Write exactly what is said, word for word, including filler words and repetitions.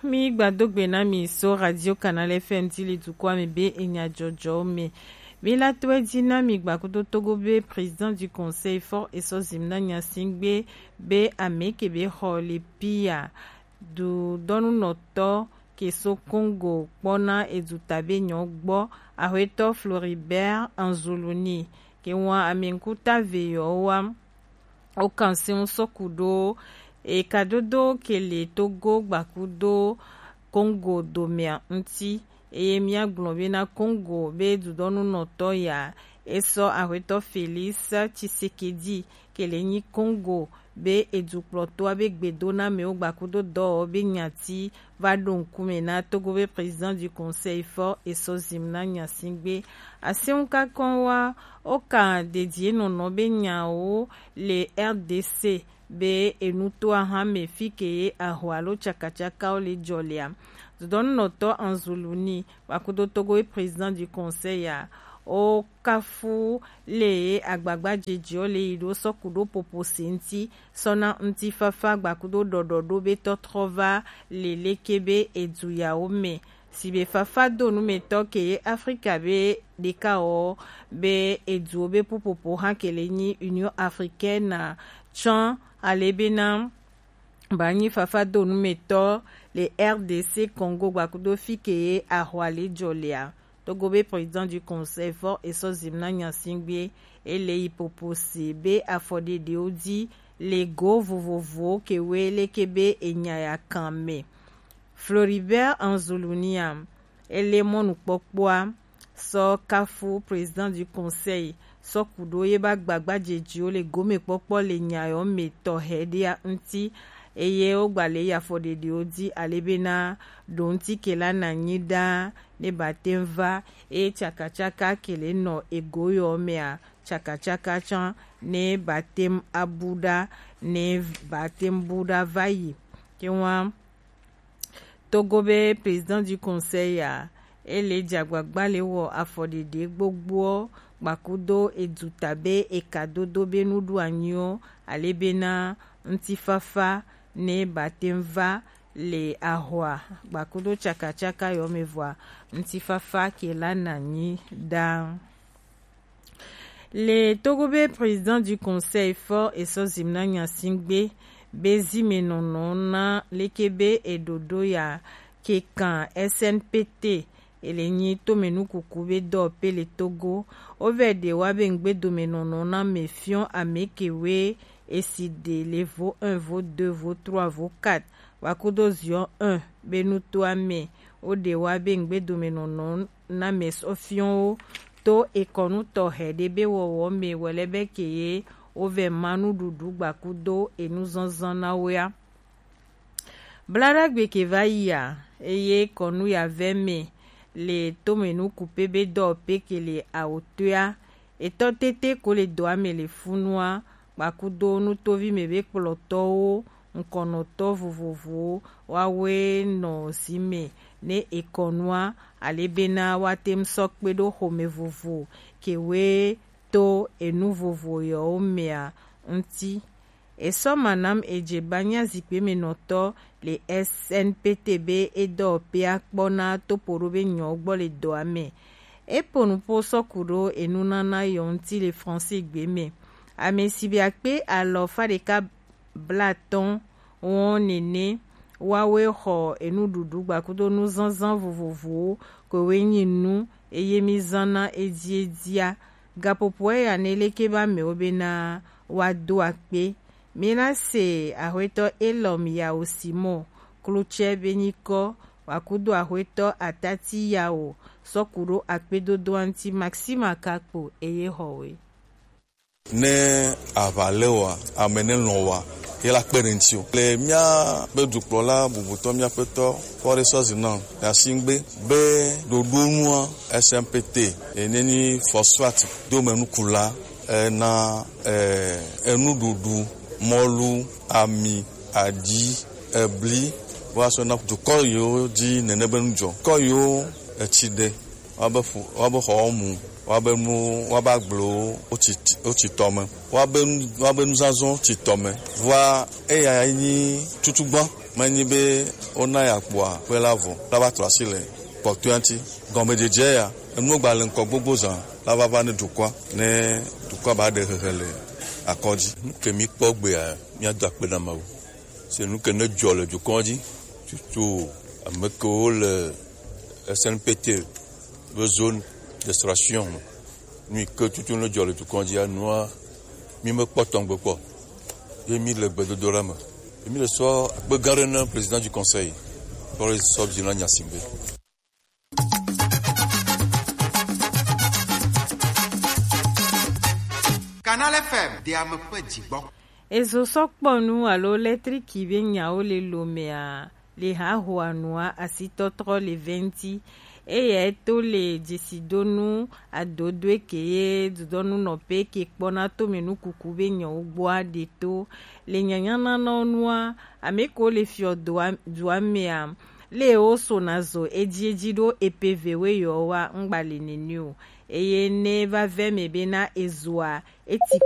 Mi gbado gbe na mi so Radio Canal F M ti le dukɔa me be enya jɔjɔwo me. Mi la to edzi na mi gba kudo Togo be Président du Conseil fort eso zim na nyasingbe be ame ke be xɔ le pia du dɔnunɔtɔ ke so Congo kpɔna eduta be nyɔ gbɔ ahwetɔ Floribert Anzuluni ke wa ame ŋkuta ve yɔ wa. Wo kan si ŋu sɔku ɖo ekadodo ke le Togo gbakudo Congo domea ŋuti, eye míagblɔ bena Congo be dudɔnunɔtɔ ya esɔ ahwetɔ Félix Tshisekedi ke le nyi Congo be edukplɔtɔa be gbedonamɛwo gbakudo dɔwɔwɔ be nyati va ɖo ŋkume na Togo be Président du Conseil fort eso zim na nyasingbe. Asi ŋu kakɔn wa wo kan dedie nɔnɔ be nyawo le R D C be enutoa hã me fi ke ye aho alo tsakatsakawo le jɔ lea. Dudɔnunɔtɔ Anzuluni gbakudo Togo ye Président du Conseil ya wo kafu le ye agbagba jejewo le yi ɖo sɔku ɖo popo se ŋuti sɔna ŋutifafa gbakudo ɖɔɖɔɖo be tɔtrɔ va le leke be edu yawo me. Sibe fafa do numetɔ ke ye Afrika be ɖeka wɔ be eduwo be pupopo hã ke le nyi Union Africaine tsɔn ale bena ba nyi fafa do numetɔ le R D C Congo gbakudo fi ke ye ahwa le jɔ lea. Togo be Président du Conseil fort eso zim na nyasingbe ele yi popo se be afɔɖeɖewo di le go vovovowo ke we leke be enya ya kan me. Floribert Anzulunia ele mɔnukpɔkpɔa sɔ kafu Président du Conseil sɔ ku ɖo ye ba gbagba jejiwo le gomekpɔkpɔ le nyayɔ me tɔxɛ ɖea ŋuti, eye wo gba le yi afɔɖeɖewo di ale bena ɖo ŋuti ke la na nyi ɖaa ne ba te ŋu va, eye tsakatsaka ke le nɔ ego yɔ mea, tsakatsaka tsã ne ba te ŋu abu ɖa, ne ba te ŋu bu ɖa va yi. Ke wa Togo be Président du Conseil ya, ele dze agbagba le wɔ afɔɖeɖe gbogboɔ gbakudo eduta be ekadodo be nuɖuanyiwo, ale bena ŋutifafa ne ba te ŋu va le ahwa gbakudo tsakatsaka yɔ me vɔa, ŋutifafa ke la na nyi ɖaa. Le Togo be Président du Conseil fort eso zim na nyasingbe be zimenɔnɔ na leke be eɖoɖo ya ke kan S N P T, ele nyi tomenukuku be dɔpe le Togo. Wo vɛ ɖe wa be ŋgbedomenɔnɔ na me fiɔ ame ke we esi ɖe le vo un, vo deux, vo trois, vo quatre, wa kudo ziɔ un be nutoa me. Wo ɖe wa be ŋgbedomenɔnɔ na mɛ sɔfiɔwo to ekɔnu tɔxɛ ɖe be wɔwɔ me wɛlɛ be ke ye wo vɛ ma nuɖuɖu gbakudo enu zɔnzɔn na woea. Blaɖagbe ke va yia, eye kɔnu ya vɛ me le tome nukupe be dɔpe ke le awotoea. Etɔ tete ko le dɔa me le funua, gbakudo nutovi me be kplɔtɔwo, ŋkɔnɔtɔ vovovowo, woawoe nɔ zi me ne ekɔnua, ale bena woate ŋu sɔ kpe ɖo xome vovo ke woe to enu vovo yɔwo mea ŋuti. Esɔ manam edze banya zikpe me nɔtɔ le S N P T be edɔ pea kpɔna topo ɖo be nyɔ gbɔ le dɔa me. Epo nupo sɔ ku ɖo enunana yɔ ŋuti le Fransegbe me. Ame si be akpe alɔfa ɖeka blatɔn wɔn nene woawoe xɔ enuɖuɖu gbakudo nuzazã vovovowo koe woe nyi nu eye mizana edziedziea. Gaƒoƒoa ya ne leke be amewo bena woado akpe. Mina se axwetɔ Elɔm Yawo Simɔ Klotsɛ be nyikɔ wòakudo axwetɔ Atati Yawo sɔ ku ɖo akpedodoa ŋuti Maxima Kakpo eye xɔwe. Ne aʋa le wa, ame ne lɔ̃ wa, ye la kpe ɖe ŋuti o. Le míaƒe dukplɔla bubutɔ, míaƒetɔ Fɔɖe Sɔzi nɔ Yasingbe be ɖoɖo nua S M P T, ene nyi Fɔswat domenukula, ena, eh, enuɖuɖu, mɔlu, ami, aɖi, ebli, woasɔ na dukɔ yiwo dzi nene be nu dzɔ. Dukɔ yiwo etsi ɖe Woabe ƒu, woabe xɔwo mu, woabe nuwo, woabe agblewo, wotsi, wotsi tɔ me. Woabe nu, woabe nuzazãwo tsi tɔ me. Vɔa eya nyi tutugbã, menyi be wona ya kpoa, kpe la vɔ, la va trɔ asi le kpɔtɔea ŋuti. Gɔmedzedze ya, enuwo gba le ŋkɔ gbogbo zã, la va va ne dukɔa, ne dukɔa ba ɖe hehe le akɔ dzi. Nu ke mi kpɔ gbea, míado akpe na Mawu. Se nu ke ne dzɔ le dukɔa dzi, tutu ame kewo le S N P T be zone d'extraction me. Nu yi ke tutu ne dzɔ le dukɔa dzi, anua, mi mekpɔ tɔgbe kpɔ. Ye mi le gbedodoɖa me. Ye mi le sɔ akpe gã ɖe na président du conseil. Kpɔ le sɔ dzi na Nyasimbe. Canal F M, de ame ƒe dzigbɔ. Ezo sɔkpɔnu alo lɛtriki be nyawo le lomea le hahoa nua asitɔtrɔ le venti. Eya to le dzesidonu adodoe ke ye dudɔnu nɔpe ke kpɔna to me nukuku be nyawo gbɔa ɖe to. Le nyanyananɔ nua, ame ko le fiɔ dua, dua mea, le wo so na zo edzi edzi ɖo epe ve we yɔ wa ŋgba le nene o. Eye ne va vɛ me be na ezoa, eti